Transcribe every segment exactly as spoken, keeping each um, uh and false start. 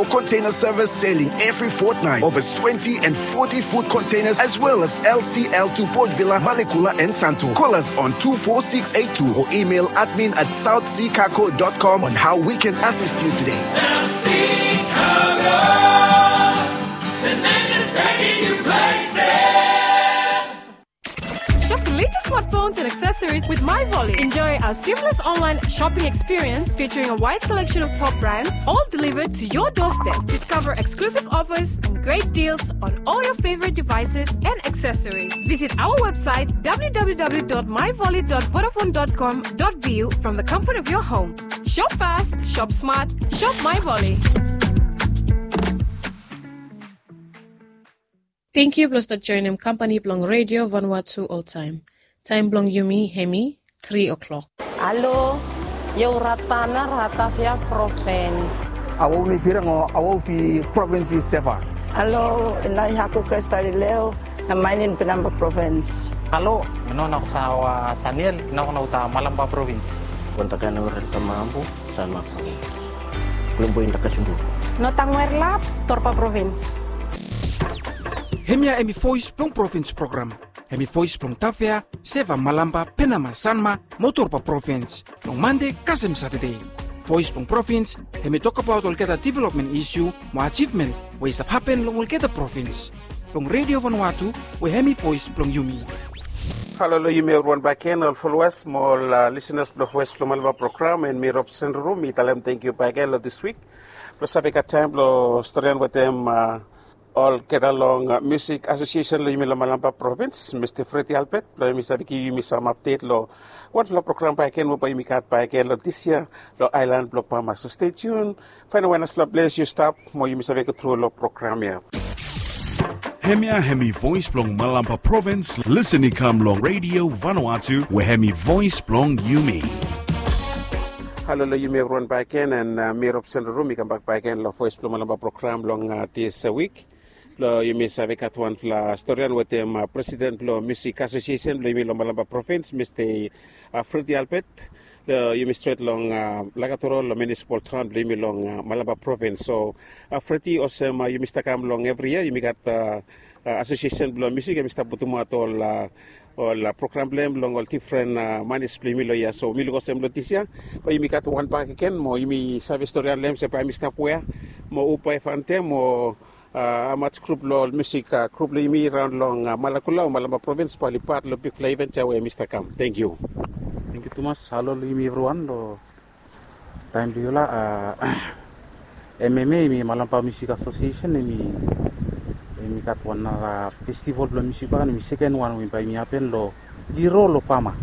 Or container service sailing every fortnight. Over twenty and forty foot containers, as well as L C L to Port Vila, Malekula, and Santo. Call us on two four six eight two or email admin at south sea cargo dot com on how we can assist you today. South Sea Cargo, the name is taking you places. Shop the latest smartphones and accessories with MyVolley. Enjoy our seamless online shopping experience featuring a wide selection of top brands, all delivered to your doorstep. Discover exclusive offers and great deals on all your favorite devices and accessories. Visit our website w w w dot my volley dot vodafone dot com dot v u from the comfort of your home. Shop fast, shop smart, shop MyVolley. Tangkiu blong stap joenem kampani blong Redio Vanuatu oltaem. Taem blong yumi hemi tri o'clock. Halo, yo Ratana, Ratavia Provins. Awo mi firang o awo fi provins i Seva. Halo, ina i Haku Krestalileo, na mainin Penamba Provins. Halo, ina na sawa Saniel, ina na uta Malamba Provins. Kontakan ora tamambu. Sanma Provins. Klombo inda Kasundu. Notang Werlap, Torpa Provins. Hemia hemi voes blong provins program. Hemi voes blong Tavea, Seva, Malamba, Penama, Sanma mo Torpa Provins. Long Mande kasem Satade. Voes blong provins hemi tokbaot olgeta developmen isu mo ajivmen we i stap hapen long olgeta provins. Blong Redio Vanuatu we hemi voes blong yumi. Halo long yumi evriwan bakegen, ol followers mo ol lisenas blong Voes blong Malamba program. And mi Robson Ruru, mi talem tangkiu bakegen long dis wik blong save gat taem blong storian wetem olgeta long Musik Asosiesen blong yumi long Malamba provins, Mista Freddy Albert, blong yumi save givim yumi sam apdet long wanfala program bakegen we bae yumi gat bakegen long dis yia long aelan blong Pama. So stay tuned. Faenem we naslap ples yu stap mo yumi save go tru long program ya. Hemia hemi voes blong Malamba provins. Lisen i kam long Redio Vanuatu we hemi voes blong yumi. Halo long yumi evriwan bakegen, and mi Robson Ruru, mi kambak bakegen long Voes blong Malamba program long dis wik. Blong yumi save gat wanfala storian wetem presiden blong Musik Asosiesen blong yumi long Malamba provins, Mista Freddy Albert. Yumi stret long Lagatoro long miunisipal taon blong yumi long Malamba provins. So Freddy, olsem yumi stap kam long evri yia yumi gat asosiesen blong musik, yumi stap putumaot ol ol program blong hem long ol difren manis blong yumi long yia. So mi luk olsem long dis yia bae yumi gat wan bakegen mo yumi save storian long hem se bae yumi stap wea mo hu bae fantem mo hamaj grup blong ol musik grup blong yumi raon long Malakula o Malamba provins bae oli pat long bigfala iven ya we yumi stap kam. Tangkiu. Tangkiu tumas. Halo long yumi evriwan long taem blong yufala. M M A, hemi Malamba Musik Asosiesen, hemi gat wan nara festival blong musik bae hemi seken wan we bae hemi hapen long Liro long Pama.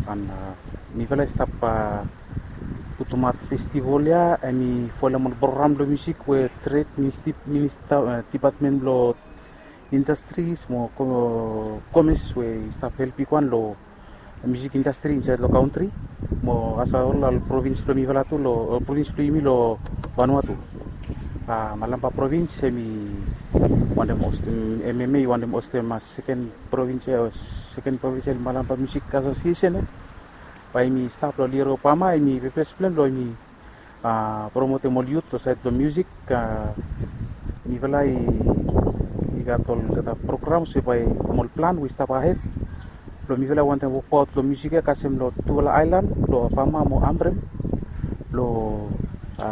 An mifala i stap putumaot festival ya, hemi folem ol program blong musik we tred minista, dipatmen blong indastris mo komes we i stap help bigwan long musik indastri insaed long kantri mo asem ol provins blong mifala tu, long provins blong yumi long Vanuatu. Malamba provins hemi wantem hostem, M M A i wantem hostem seken provins, seken provinsel Malamba Musik Asosiesen ya. Bae hemi stap long Liro Pama, hemi pepes blong hem blong hemi promotem ol yut long saed blong musik. Mifala i gat olgeta programs we bae, ol plan we i stap ahed blong mifala wantem wokbaot long musik ya kasem long tufala aelan blong Pama mo Ambrym blong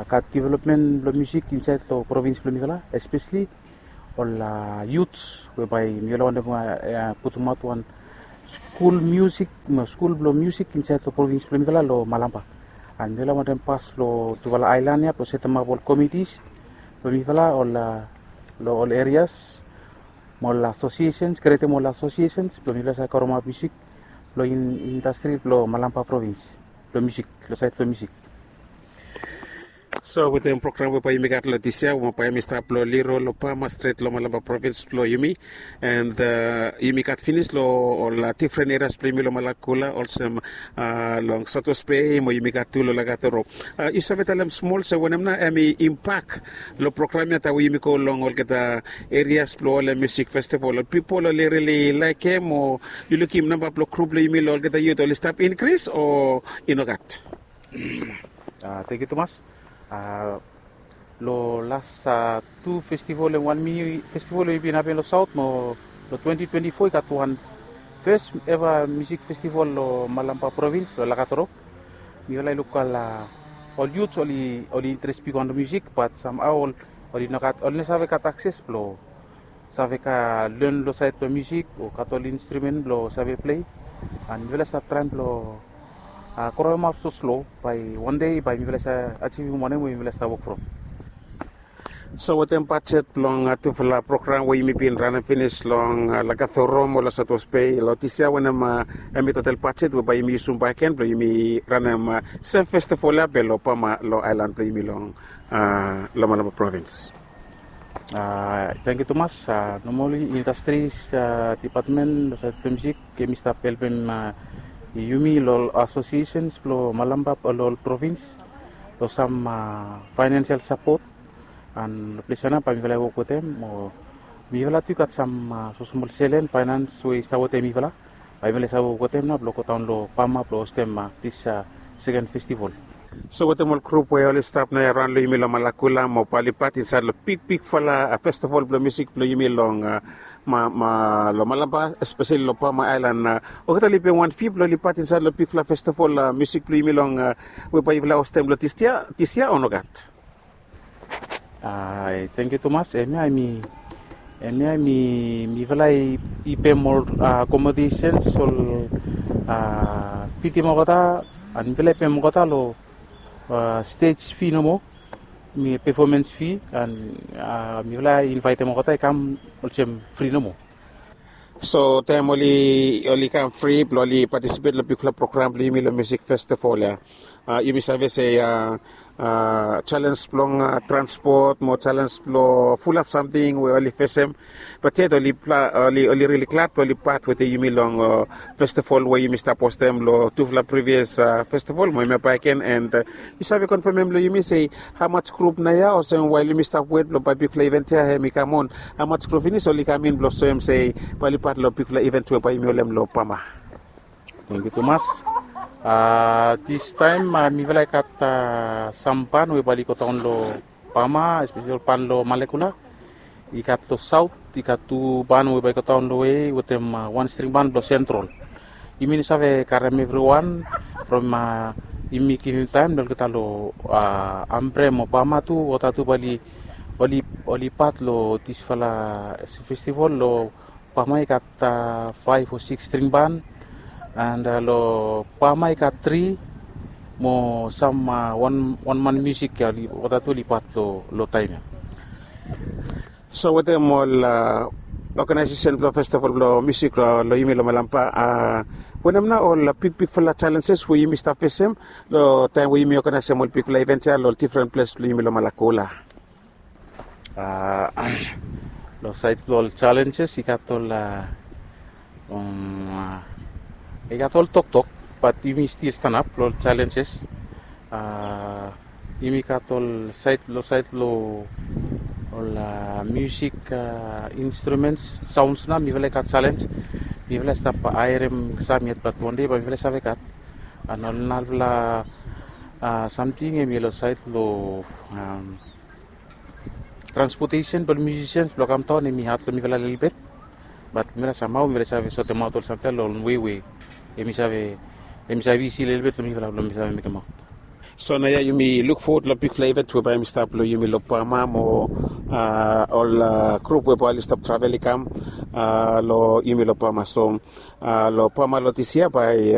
gat developmen blong musik insaed long provins blong mifala, espeseli ol yuts we bae mifala wantem putumaot wan skul musik mo skul blong musik insaed long provins blong mifala long Malamba. An mifala wantem pas long tufala aelan ya blong setemap ol komitis blong mifala ol long ol erias mo ol asosiesens, krietem ol asosiesens blong mifala save karemap musik blong indastri blong Malamba provins blong musik, long saed blong musik. So wetem program we bae yumi gat long dis yia, we bae hemi stap long Liro long Pama stret long Malamba provins blong yumi, an yumi gat finis long ol difren erias blong yumi long Malakula olsem long Santos Bay mo yumi gat tu long Lagatoro. Yu save talem smol se wanem nao hemi impak long program ya taem we yumi go long olgeta erias blong ol musik festival? Ol pipol oli rili laekem o yu lukim namba blong grup blong yumi long olgeta yut oli stap inkris o i nogat? Tangkiu tumas. Long las tu festival, em wan mini festival we i bin hapen long saut mo long twenty twenty-four i gat wan fes eva musik festival long Malampa provins long Lakatoro. Mifala i luk ol, ol yut oli interes bigwan long musik, bat samhao oli no gat, oli no save gat akses blong save len long saed blong musik o gat ol instrumen blong save plei. An mifala i stap traem blong kroemap soslo, bae wan dei bae mifala i save ajivim wanem we mifala i stap wok from. So wetem bajet blong tufala program we yumi bin ranem finis long Lakatoro mo long Saut West Bay long dis yia, wanem hemi total bajet we bae yumi yusum bakegen blong yumi ranem sem festival ya be long Pama long aelan blong yumi long Lamalama provins? Tangkiu tumas. Nomali indastris dipatmen long saed blong musik hemi stap helpem yumi long ol asosiesens blong Malampa long ol provins long sam faenansial sapot. An long ples ya nao bae mifala i wok wetem, o mifala tu i gat sam smosmol selen faenans we i stap wetem mifala, bae mifala i save wok wetem nao blong godaon long Pama blong hostem dis seken festival. So wetem ol grup we oli stap nao ya raon long yumi long Malakula mo bae oli pat insaed long bigbigfala festival blong musik blong yumi long Malampa, espeseli long Pama aelan, olgeta oli pem wan fi blong oli pat insaed long bigfala festival musik blong yumi long we bae yufala hostem long dis yia, dis yia o nogat? Tangkiu tumas. Hemia hemi, hemia hemi, mifala i pem ol akomodesens, ol fidim olgeta, an mifala i pem olgeta long stej fi nomo, mi pefomens fi, an mifala i invaetem olgeta i kam olsem fri nomo. So taem oli, oli kam fri blong oli patisipet long bigfala program blong yumi long musik festival ya, yumi save se jalenj blong transpot mo jalenj blong fulap samting we oli fesem. Bat yet oli, oli rili glad blong oli pat wetem yumi long festival we yumi stap hostem long tufala privias festival mo hemia bakegen, an yu save konfemem long yumi se hamas grup nao ya, olsem wael yumi stap wet blong bae bigfala event ya hemi kam on, hamas grup finis oli kam in blong soem se bae oli pat long bigfala event we bae yumi holem long Pama? Tangkiu tumas. Distaem mifala i gat sam ban we bae oli godaon long Pama, espeseli ol ban long Malakula. I gat long saot i gat tu ban we bae i godaon long we wetem wan string ban blong Sentral. Yumi no save karem evriwan from yumi givim taem long olgeta long Ambre mo Pama tu, olgeta tu bae oli, oli pat long disfala festival. Long Pama i gat faef o siks string ban, an long Pama i gat tri mo sam wan, wan man musik ya, olgeta tu oli pat long taem ya. So wetem ol oganaesesen blong festival blong musik long yumi long Malampa, wanem nao ol bigbigfala jalenjes we yumi stap fesem long taem we yumi oganaesem ol bigfala event ya long ol difren ples blong yumi long Malakula? Long saed blong ol jalenjes i gat ol, i gat ol toktok, bat yumi stil stanap long ol jalenjes. Yumi gat ol saed, long saed blong ol musik instrumens, saons nao mifala i gat jalenj. Mifala i stap haerem sam yet, bat wan dei bae mifala i save gat. An ol narafala samting hemi long saed blong transpotesen blong musisians blong kam daon hemi had long mifala lelebet. Bat mifala samhao mifala i save sotemaot ol samting ya long wan wei we hemi save, hemi save isi lelebet long mifala blong mi save mekemaot. So naoia yumi luk fowod long bigfala event we bae hemi stap long yumi long Pama mo ol grup we bae oli stap travel i kam long yumi long Pama. So long Pama long dis yia bae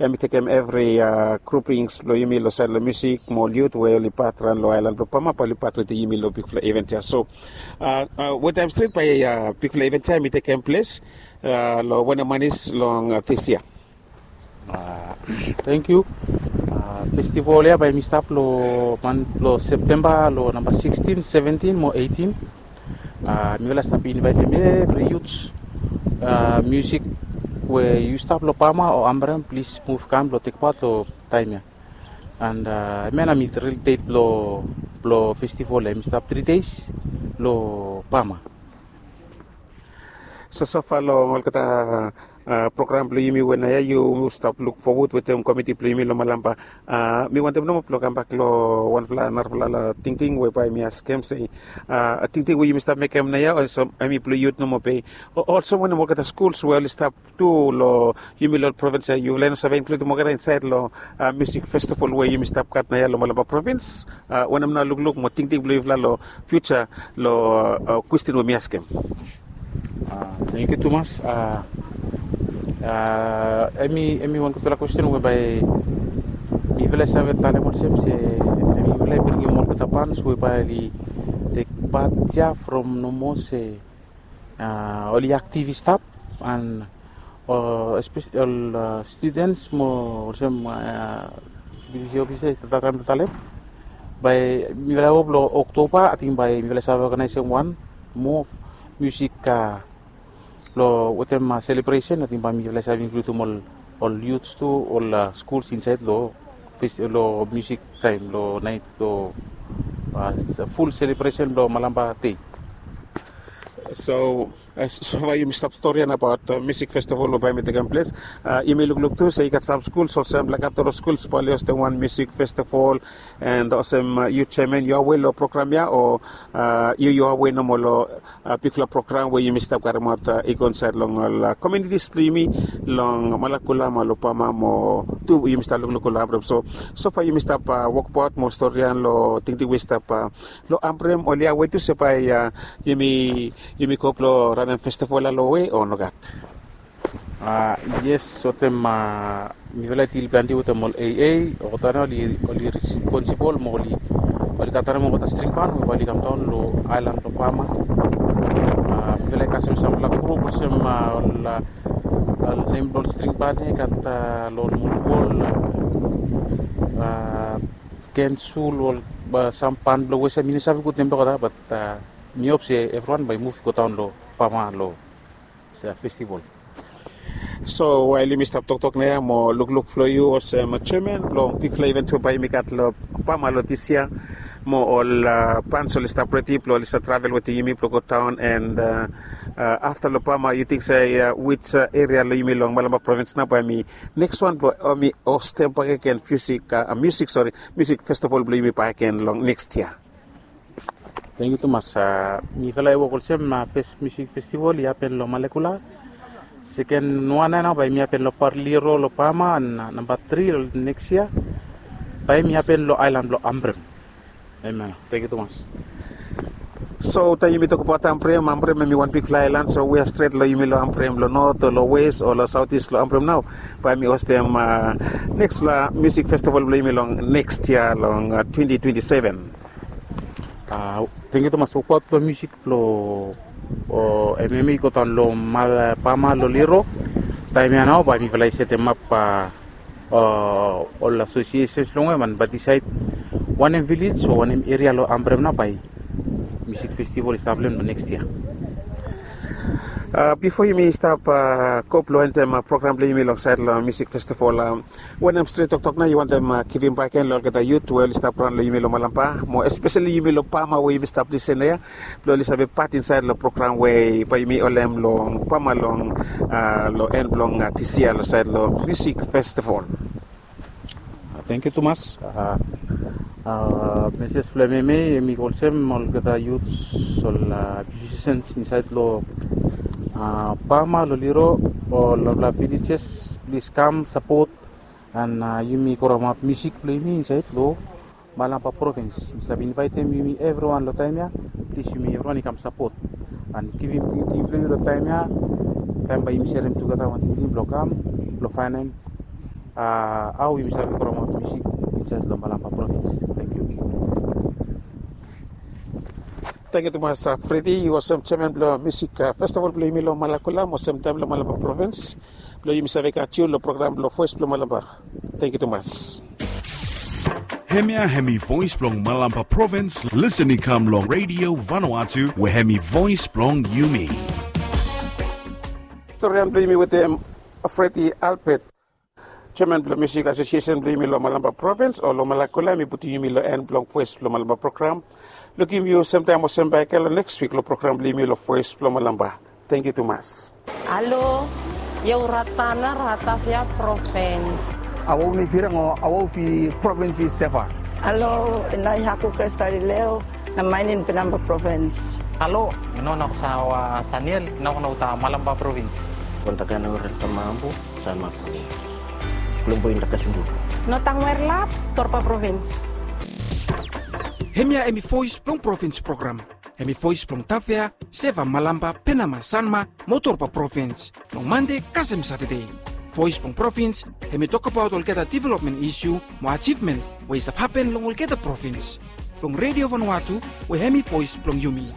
hemi tekem evri grupings blong yumi long saed long musik mo ol yut we oli pat raon long aelan blong Pama bae oli pat wetem yumi long bigfala event ya. So wantaem stret bae bigfala event ya hemi tekem ples long wanem manis long dis yia? Tangkiu. Festival ya bae hemi stap long man blong Septemba long namba sikstin, seventin mo eitin. Mifala stap invaetem evri yut musik we yu stap long Pama o Ambre, plis muv kam blong tekpaot long taem ya. An hemia nao hemi ril det blong, blong festival ya, hemi stap tri dei long Pama. So sofa long olgeta program blong yumi we naoia yu stap luk fowod wetem komiti blong yumi long Malampa. Mi wantem nomo blong kambak long wanfala narafala tingting we bae mi askem se, tingting we yumi stap mekem naoia olsem hemi blong yut nomo be, olsem wanem olgeta skuls we oli stap tu long yumi long provins ia, yufala i no save inkludim olgeta insaed long musik festival we yumi stap gat naoia long Malampa provins? Wanem nao lukluk mo tingting blong yufala long fiuja long kwestin we mi askem? Tangkiu tumas. Hemi wan gudfala kwestin we bae mifala i save talem olsem se hemi mifala i bringim olgeta pans we bae oli tek pat ia from nomo se oli aktiv i stap an ol studens mo olsem bisi ofisa i stap traem blong talem, bae mifala i wok long Oktoba ating bae mifala i save oganaesem wan moa musik long wetem selebresen ating bae mifala i save inkludim ol ol yuts tu, ol skuls insaed long musik taem long naet long ful selebresen blong Malampa dei. So sofa yumi stap stori ia abaot musik festival we bae mi tekem ples. Yumi lukluk tu se i gat sam skuls olsem Lakatoro skuls bae oli hostem wan musik festival. And olsem yu jeaman yu awe long program ia o yu yu awe nomo long bigfala program we yumi stap karemaot i go insaed long ol komunitis blong yumi long Malakula mo long Pama mo tu yumi stap lukluk long Ambrem. So sofa yumi stap wokbaot mo stori ia long tingting we i stap long Ambrem oli awe tu se bae yumi yumi go blong ranem festival ia long we o nogat? Yes, wetem mifala i dil plante wetem ol AA. Olgeta nao oli oli responsibol mo oli oli gat wanem olgeta string ban we bae oli kamdaon long aelan blong Pama. Mifala i kasem sampela grup olsem ol ol nem blong ol string ban ia i gat long ol Molwol, Kensul, ol sam ban blong Wes ia mi no save gud nem blong olgeta, bat mi hop se evriwan bae i muv i go daon long Pama long festival. So wael yumi stap toktok naoia mo lukluk blong yu olsem jeaman blong bigfala iven tu bae yumi gat long Pama long dis yia, mo ol bans oli stap redi blong oli stap travel wetem yumi blong go daon, and afta long Pama yu ting se wij eria long yumi long Malampa provins nao bae mi neks wan blong mi hostem bakegen musik, musik sori, musik festival blong yumi bakegen long neks yia? Tangkiu tumas. Mifala i wok olsem fes musik festival i hapen long Malekula. Seken wan ia nao bae mi hapen long Parliro long Pama, an namba tri long neks yia bae mi hapen long aelan blong Ambrem. Amen. Tangkiu tumas. So taem yumi tokbaot Ambrem, Ambrem hemi wan bigfala aelan, so we ia stret long yumi long Ambrem long not o long wes o long saotis long Ambrem nao bae mi hostem neksfala musik festival blong yumi long neks yia long twenti twenti seven. Tangkiu tumas. Wokbaot blong musik blong MMA i go daon long Pama long Liro. Taem ia nao bae mifala i setemap ol asosiesens long hem an bae disaed wanem vilej o wanem eria long Ambrem nao bae musik festival i stap long hem long neks yia. Bifo yumi stap go blong endem program blong yumi long saed long musik festival, wanem stret toktok nao yu wantem givim bakegen long olgeta yut we oli stap raon long yumi long Malampa mo espeseli yumi long Pama we yumi stap lisen ia, blong oli save pat insaed long program we bae yumi holem long Pama long long en blong dis yia long saed long musik festival? Tangkiu tumas. Meses blong MMA hemi go olsem, olgeta yuts, ol musisens insaed long Pama long Liro, ol narafala vilejes, plis kam sapot an yumi karemaot musik blong yumi insaed long Malampa provins. Mi save invaetem yumi evriwan long taem ia. Plis yumi evriwan i kam sapot an givim tingting blong yu long taem ia. Taem bae yumi serem tugeta wan tingting blong kam blong faenem hao yumi save karemaot musik insaed long Malampa provins. Tangkiu. Tangkiu tumas Fredi, yu olsem jeaman blong musik festival blong yumi long Malakula mo olsem taem long Malampa provins blong yumi save gat yu long program blong Voes blong Malampa. Tangkiu tumas. Hemia hemi Voes blong Malampa provins, lisen i kam long Redio Vanuatu we hemi voes blong yumi. Storian blong yumi wetem Fredi Albert, jeaman blong musik asosiesen blong yumi long Malampa provins o long Malakula, hemi putum yumi long en blong Voes blong Malampa program. Lukim yu semtaem olsem bakegen long neks wik long program blong yumi long Voes blong Malampa. Tangkiu tumas. Halo. Iau Ratana, Ratavia Provins. Awau ni firang o awau fi provins i Seva. Alo, inai haku Kresta Lileo, na mainin Penamba Provins. Alo, ino na ko sa wa Saniel, ina ko na uta Malamba Provins. Kontakana ora tamabu, Sanma Provins. Kulombo inda kasundu. No tang werlap, Torpa Provins. Hemia hemi voes blong provins program. Hemi voes blong Tavea, Seva, Malamba, Penama, Sanma, mo Torpa Provins. Long Mande kasem Satade. Voes blong provins, hemi tokbaot olgeta developmen isiu mo ajivmen we i stap hapen long olgeta provins. Long Redio Vanuatu, we hemi voes blong yumi.